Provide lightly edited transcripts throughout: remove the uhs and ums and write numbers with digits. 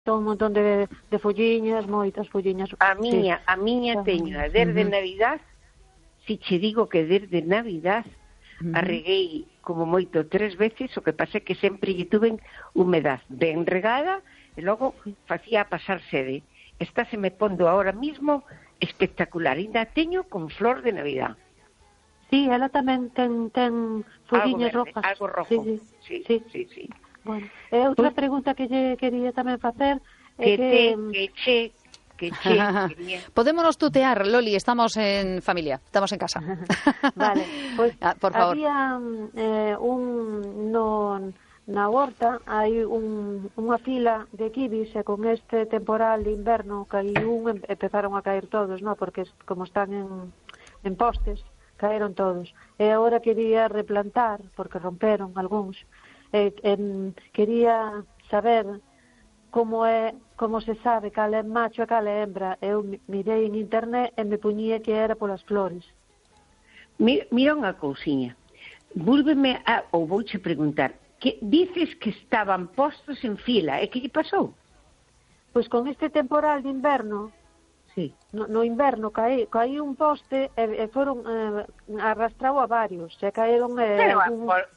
un montón de folliñas, moitas folliñas. A miña teño desde Navidad, si che digo que desde Navidad arreguei como moito 3 veces, o que pasa é que sempre lle tuven humedad ben regada e logo facía pasar sede. Esta se me pondo ahora mismo espectacular, ainda teño con flor de Navidad. Sí, ela tamén ten folliñas rojas. Algo rojo. Sí. Bueno, outra pregunta que lle quería tamén facer é que Podémonos tutear, Loli, estamos en familia, estamos en casa. Vale, pois por favor. Había na horta hai unha fila de kibis e con este temporal de inverno empezaron a caer todos, ¿no? Porque como están en postes, caeron todos. E agora quería replantar, porque romperon algúns. Quería saber como se sabe cal é macho e cal é hembra. Eu mirei en internet e me puñía que era polas flores. Mira unha cousiña. Vouche preguntar, que dices que estaban postos en fila, e que lle pasou? Pois con este temporal de inverno, sí. No inverno caí un poste e foron arrastrado a varios, se caeron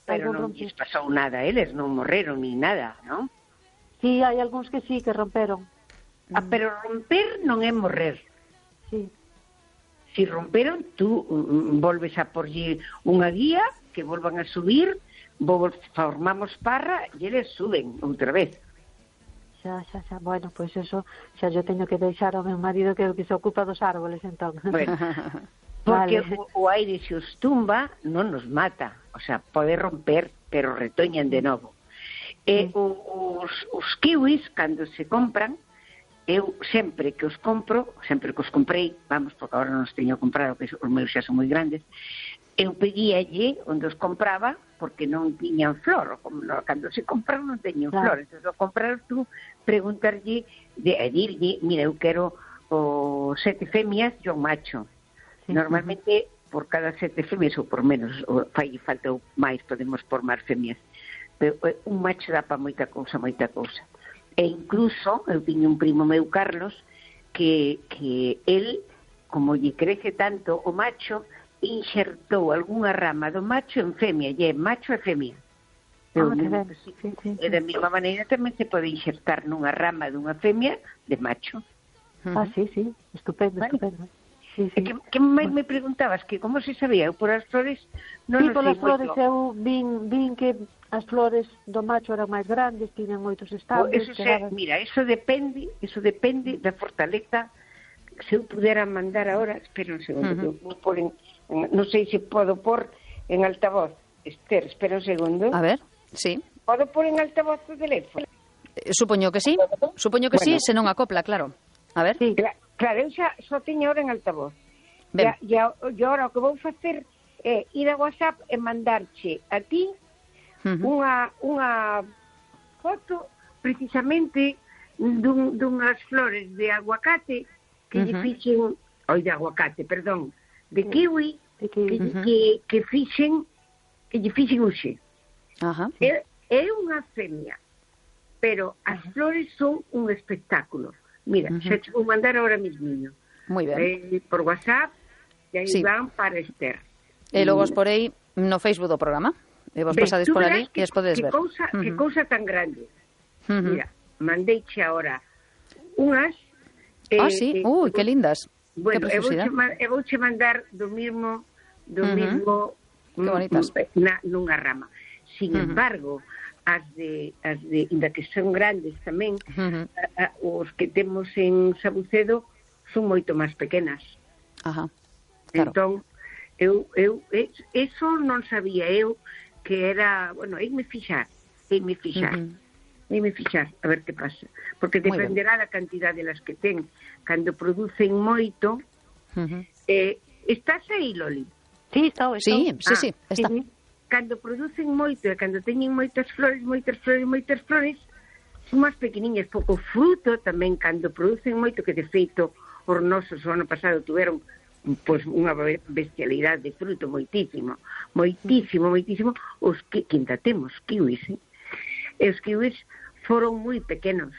pero non lles pasou nada, eles non morreron ni nada, non? Sí, hai algúns que sí, que romperon. Pero romper non é morrer. Sí. Si romperon, tú volves a porlle unha guía que volvan a subir, formamos parra e eles suben outra vez. Xa. Bueno, pois eso xa yo teño que deixar ao meu marido que se ocupa dos árboles, entón. Bueno, porque o aire se os tumba non nos mata. O sea, pode romper, pero retoñan de novo. Os kiwis, cando se compran, eu sempre que os comprei, vamos, porque agora non os teño comprado, que os meus xa son moi grandes, eu pedíalle onde os compraba, porque non tiñan flor, cando se compran non teñen flor, entón ao comprar tú, preguntarlle, dirlle, mira, eu quero 7 femias e un macho. Normalmente, por cada 7 femias, ou por menos, fai falta máis, podemos por máis femias, pero un macho dá para moita cousa. E incluso, eu tiño un primo meu, Carlos, que el, como lle crece tanto o macho, inxertou algunha rama do macho en femia, e é macho e femia. E da mesma maneira tamén se pode inxertar nunha rama dunha femia de macho. Sí, estupendo. Sí. Que máis me preguntabas? Que como se sabía? Eu por as flores non sei. Polas flores eu vin que as flores do macho eran máis grandes, tiñan moitos estables. Mira, eso depende da fortaleza. Se eu pudera mandar ahora, espera un segundo, non sei se podo pôr en altavoz. Esther, espera un segundo. A ver, sí. Podo pôr en altavoz o teléfono? Supoño que sí, se non acopla, claro. A ver. Sí, claro, eu xa só teño ahora en altavoz. E agora o que vou facer é ir a WhatsApp e mandarche a ti unha foto precisamente dunhas flores de aguacate que lle fixen, de kiwi, que lle fixen uxe. É unha femia, pero as flores son un espectáculo. Mira, xa te vou mandar ahora mismo. Moi ben. Por WhatsApp, e aí van para Esther. E logo os porei no Facebook do programa. E vos pasades por ali e os podedes ver. Que cousa tan grande. Mira, mandeiche ahora unhas. Sí, que lindas. Bueno, eu vouche mandar do mismo nunha rama. Sin embargo, as de inda que son grandes tamén, os que temos en Sabucedo son moito máis pequenas. Claro. Entón, eso non sabía eu que era, bueno, eime fixar, a ver que pasa, porque dependerá da cantidade de las que ten. Cando producen moito, estás aí, Loli? Sí, está. Cando producen moito e cando teñen moitas flores, son máis pequeniñas, pouco fruto tamén. Cando producen moito, que de feito os nosos o ano pasado tuveron pois unha bestialidade de fruto moitísimo, os que ainda temos kiwis, e os kiwis foron moi pequenos,